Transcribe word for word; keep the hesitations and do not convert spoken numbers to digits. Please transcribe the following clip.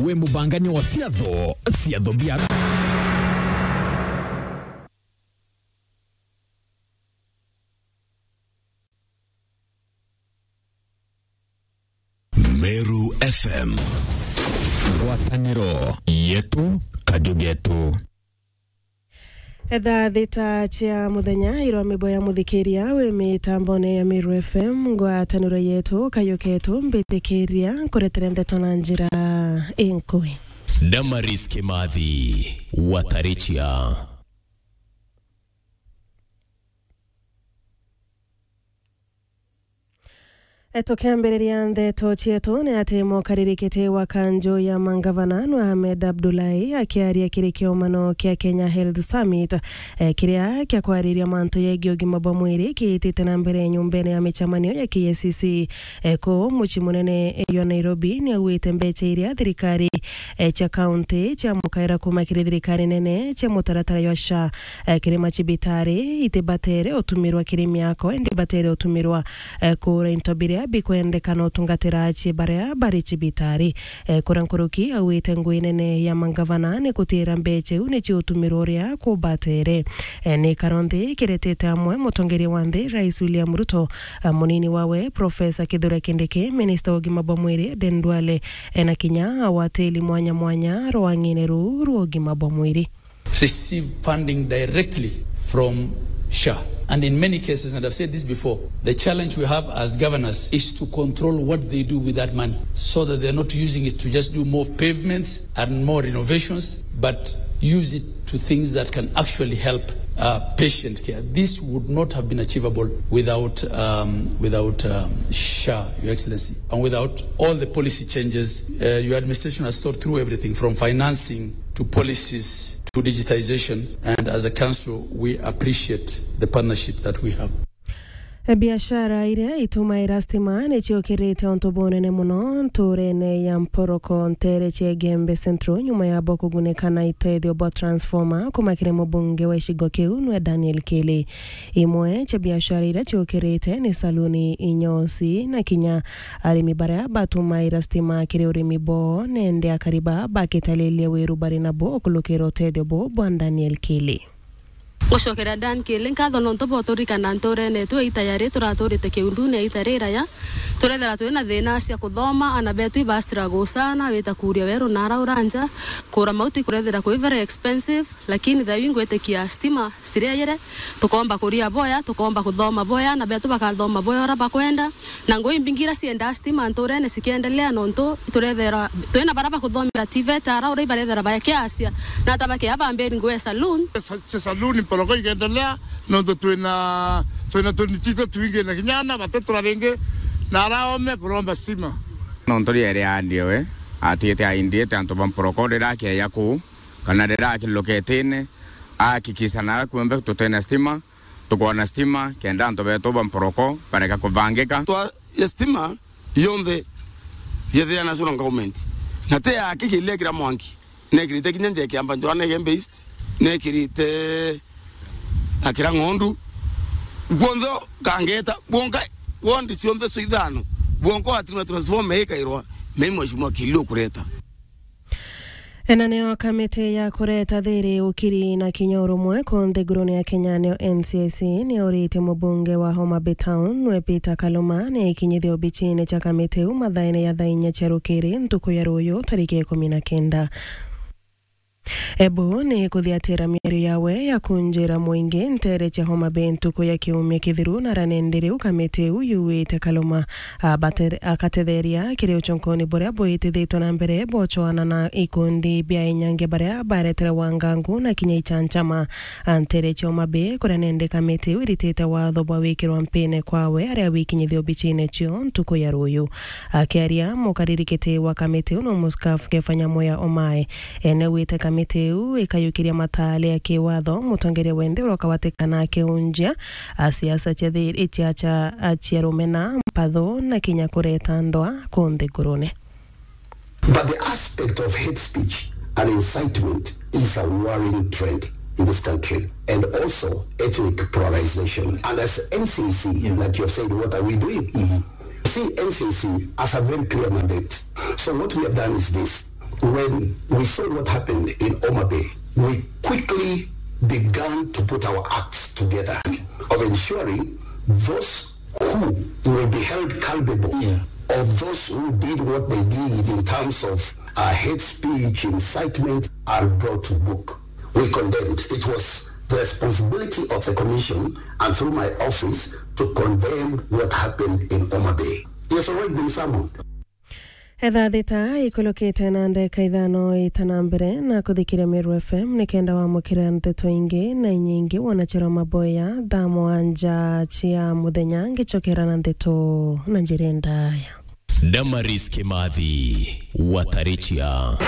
Wi mubangania wa ciatho, ciatho bia Meru F M. Ngwataniro yetu, kaju getu. Etha thita cia muthenya irwa mibo ya muthikiria wi mitambone ya Meru F M, ngwataniro yetu, kayu ketu, mbitikiria nkuretere ndeto na njira inkui. Damaris Kimathi, Watarichia. E, tukiambiriria ndeto cietu, ni ati mukaririkiti wa kanju ya mangavana nwe Ahmed Abdullahi akiaria kiri kiomano kia Kenya Health Summit, e, kiria kia kwariria mantu yegii ugima bwa mwiri kiitite na mbere nyumbene ya micemanio ya K I C C, e, kuu mucii munene, e, jwa Nairobi, ni auite mbecha iria thirikari, e, cia kaunti cia mukaira kuma kiri thirikari nene cia mutaratara jwa SHA, e, kiri macibitari itibatere utumirwa kiri miako, indi batere utumirwa, e, kura into biria bikwendekana utungatira acie baria bari cibitari. E, kuria nkuruki auite ngui nene ya mangavana ni kutira mbecha iu ni ciutumirwa uria kubatere. E, ni karonthi kiretete amwe mutongeria wa nthi, Rais William Ruto, e, munini wawe, Professor Kithure Kindiki, minista wa ugima bwa mwiri, Aden Duale, e, na kinya awatili mwanya mwanya rwang'ine ruu rwa ugima bwa mwiri. Receive funding directly from SHA. And in many cases, and I've said this before, the challenge we have as governors is to control what they do with that money so that they're not using it to just do more pavements and more renovations, but use it to things that can actually help, uh, patient care. This would not have been achievable without, um, without, um, SHA, Your Excellency, and without all the policy changes. Uh, your administration has thought through everything from financing to policies to digitization, and as a council, we appreciate the partnership that we have. E, biashara iria itumaira stima ni ciukirite untu bunene muno nturene ya Mporoko, ntere cia Igembe Central, nyuma ya bo kugunika na itethio bwa transformer kuma kiri mubunge wa gicigo kiu nwe Daniel Kili. Imwe cia biashara iria ciukirite ni saluni, inyosi na kinya arimi baria batumaira stima kiri urimi bwoo, nende akari baa bakitalilia wiru bari nabo ukulukira utethio buu bwa Daniel Kili. Gucokeria Dan Kili nkatho nontu bwa uturikana nturene yetu ya ita yari turaturite kiundune ya ita riraya. Turethera twina thina cia kuthoma, ana betu iba struggle sana, wita kuria weru na ara uranja, kura mauti kurethera kwi very expensive, lakini thayu ingwitikia stima ciriayire, tukomba kuria boya, tukomba kuthoma boya, ana betu bakathoma boya ura bakwenda, na ngui mbingi ira ciendaa stima nturene cikiendelea nontu turethera twina bara bakuthomera TVET ara ura ibarethera bakiacia, na ata bakia bambiri ngui ya saloon. Sa-, sa-, saloon Mporoko ikiendelea, nontu twina, twina tunitito twingi na kinya ana batatu na ringi na araome kuromba stima. Nontu riere andie we, atiite aindite antu ba Mporoko riria akeeja kuu, kana riria akiluketine, ahakikisha na kuombe tutena stima, tukoona stima, kenda antu betu ba Mporoko bareka kubangika. Twa ya stima yonthe yethira national government. Na te yake kiria kira mwanki. Nekirite kinya nje kiamba Johannesburg East, nekirite akira ng'ondu. Kwonthe kangeta, bwonka, wondi cionthe cio ithano, bwonka watirwa transformer ikairwa, mei mheshimiwa Kili ukureta. Ena nio kamiti ya kureta thiri, ukiri na kinya urumwe ku nthigurune ya Kenya, nio N C I C, ni urite mubunge wa Homa Bay Town, nwe Peter Kaluma, ni ikinyithio obichine cha kamiti u mathaene ya thaa inya cia rukiri ntuku ya ruyu, tariki ikumi na kenda. Ebu ni kuthiatira miario yawe ya kunjira mwingi ntere cia Homa Bay ntuku ya kiumia kithiru, na ranende riu kamiti iu yuite Kaluma abate-, akatetheria kiri uchonkoni buria bwitithitwe na mbere bwochoana na ikundi bia inyange baria baretere wangangu na kinya ichanchama. Antere cia Homa Bay, kuria nende kamiti iu iritite watho bwa wikirwa mpine kwawe aria wikinyithio obichine cio ntuku ya ruyu. Akiaria mukaririkiti wa kamiti iu no Muskaf Kefanya Moya Omae, ene wite kamiti iu ikayukiria matale ya kiwatho, mutongeria wenthe uroka watikana akiunjia a siasa cia thi-, cia, cia, cia rumena, mpatho na kinya kureta ndoa ku nthigurune. But the aspect of hate speech and incitement is a worrying trend in this country, and also ethnic polarization. And as N C I C, like you have said, what are we doing? See, N C I C has a very clear mandate. So what we have done is this. When we saw what happened in Homa Bay, we quickly began to put our acts together of ensuring those who will be held culpable, yeah, of those who did what they did in terms of uh, hate speech, incitement, are brought to book. We condemned. It was the responsibility of the commission and through my office to condemn what happened in Homa Bay. He has already been summoned. Etha thita ikulukite na ndeka ithano ita na mbere na kuthikiria Meru F M nikenda wamukira ndeto ingi na inyingi wona chira maboya thaa mwanja cia muthenya ngicokera na ndeto na njira ndaya. Damaris Kimathi, Watarichia.